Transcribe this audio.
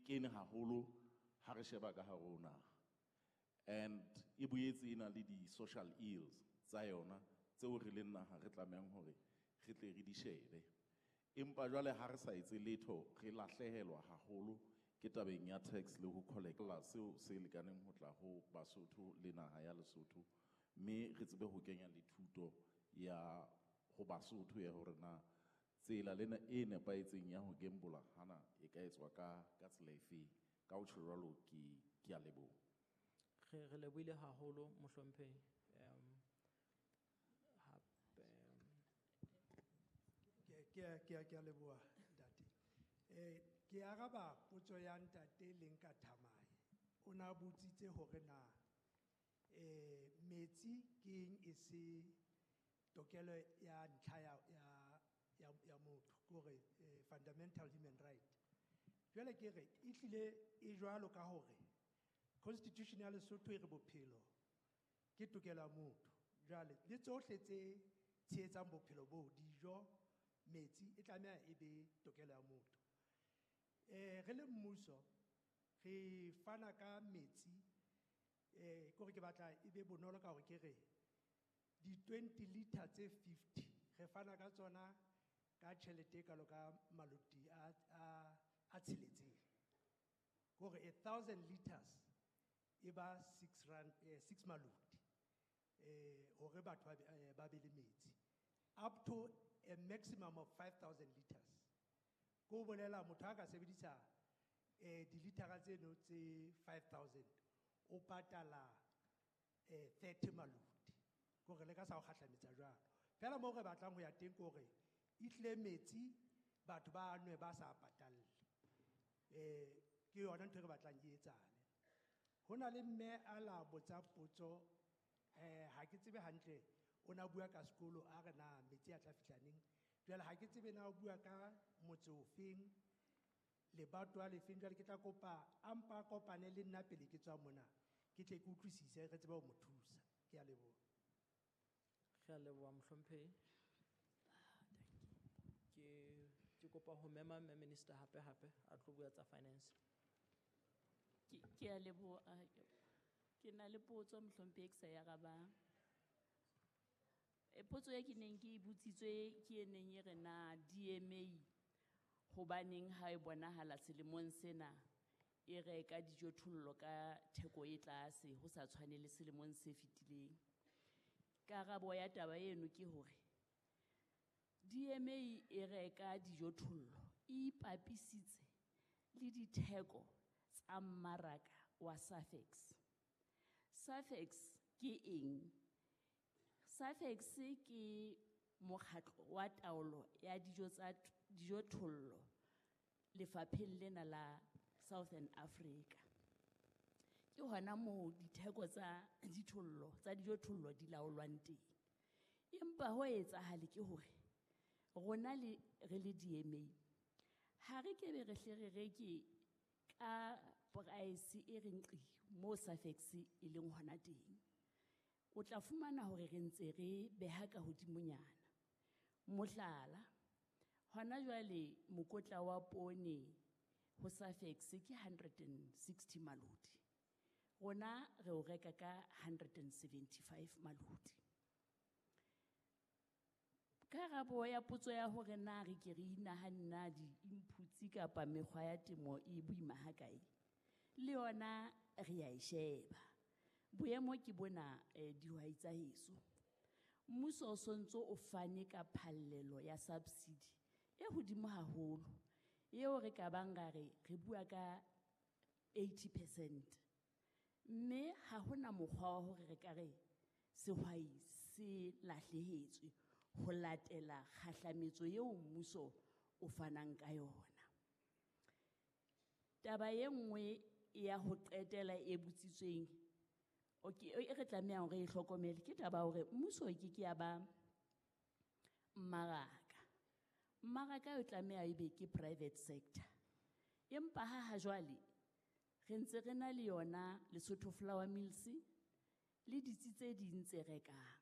kene haholo ha re sheba ka hare ho naha. And e boetse e na le di-social ills tsa yona tseo re leng naha re tlamehang hore re tle re di shebe. Empa jwale ha re sa etse letho re lahlehelwa haholo ke tabeng ya tax le ho collect seo se lekaneng ho tla ho Basotho le naha ya Lesotho, mme re tsebe ho kenya le thuto ya ho Basotho ya hore na tsela lena e nepahetseng ya ho gambola hana e ka etswa ka tsela efe. Ka ho tjho jwalo ke a leboha. Re lebohile haholo mohlomphehi. Hape, Ke a leboha, ntate. Ke araba potso ya ntate Lenka Thamae. O na botsitse hore na, metsi ke eng e se tokelo ya ntlha ya motho, ke hore, fundamental human right. Jwale ke re, e hlile e jwalo ka hore Constitution ya Lesotho e re bophelo ke tokelo ya motho. Jwale le tsohle tse tshehetsang bophelo bo, dijo, metsi, e tlameha e be tokelo ya motho. Re le mmuso re fana ka metsi, ke hore ke batla e be bonolo ka hore ke re di 20 liter tse 50 re fana ka tsona ka tjhelete e kalo ka maloti a tsheletseng. Ke hore 1,000 liters e ba 6 rand, 6 maloti, hore batho ba be le metsi up to a maximum of 5,000 liters. Ko bolela motho a ka sebedisa, dilitara tseno tse 5,000 o patala, 30 maloti. Ke hore le ka sa o kgahlametsa jwalo. Fela moo re batlang ho ya teng ke hore e tlile metsi batho ba nwe ba sa patalle. Ke yona ntho e re batlang e etsahale. Ho na le mme a la botsa potso, ha ke tsebe hantle, o na bua ka sekolo a re na metsi a tla fihla neng. Jwale ha ke tsebe na o bua ka motse ofeng, lebatowa lefeng. Jwale ke tla kopa a mpa a kopane le nna pele ke tswa mona, ke tle ke utlwisise re tsebe ho mo thusa. Ke a leboha. Re a leboha mohlomphehi. Ke kopa ho mema mme minister hape hape a tlo bua tsa finance. Ke a leboha. Ke na le potso mohlomphehi e ke sa e arabang. Potso e ke neng ke e botsitswe ke e neng e re na DMA hobaneng ha e bonahala selemong sena e reka dijothollo ka theko e tlase ho sa tshwane le selemong se fetileng. Karabo ya taba eno ke hore DMA e reka dijothollo e ipapisitse le ditheko tsa mmaraka wa Safex. Safex ke eng? Safex ke mokgatlo wa taolo ya dijo tsa dijothollo lefapheng lena la Southern Africa. Ke hona moo ditheko tsa dithollo, tsa dijothollo di laolwang teng. Empa ho etsahale ke hore rona le re le DMA ha re ke be re hle re reke ka price e reng qi mo Safex e leng hona teng. O tla fumana hore re ntse re beha ka hodimonyana. Mohlala, hona jwale mokotla wa poone ho Safex ke 160 maloti. Rona re o reka ka 175 maloti. Karabo ya potso ya hore na re ke re inahanne na di-inputs kapa mekgwa ya temo e boima hakae, le yona re a e sheba. Boemo ke bona, dihwai tsa heso. Mmuso o sontso o fane ka phallelo ya subsidy e hodimo haholo, eo re ka bang ra re, re bua ka 80%. Mme ha hona mokgwa wa hore re ka re sehwai se lahlehetswe ho latela kgahlametso eo mmuso o fanang ka yona. Taba e nngwe ya ho qetela e botsitsweng, e re tlamehang hore re e hlokomele, ke taba ya hore mmuso e ke ke ya ba mmaraka. Mmaraka o tlameha ebe ke private sector. Empa ha jwale re ntse re na le yona Lesotho Flour Mills le ditsi tse ding tse rekang.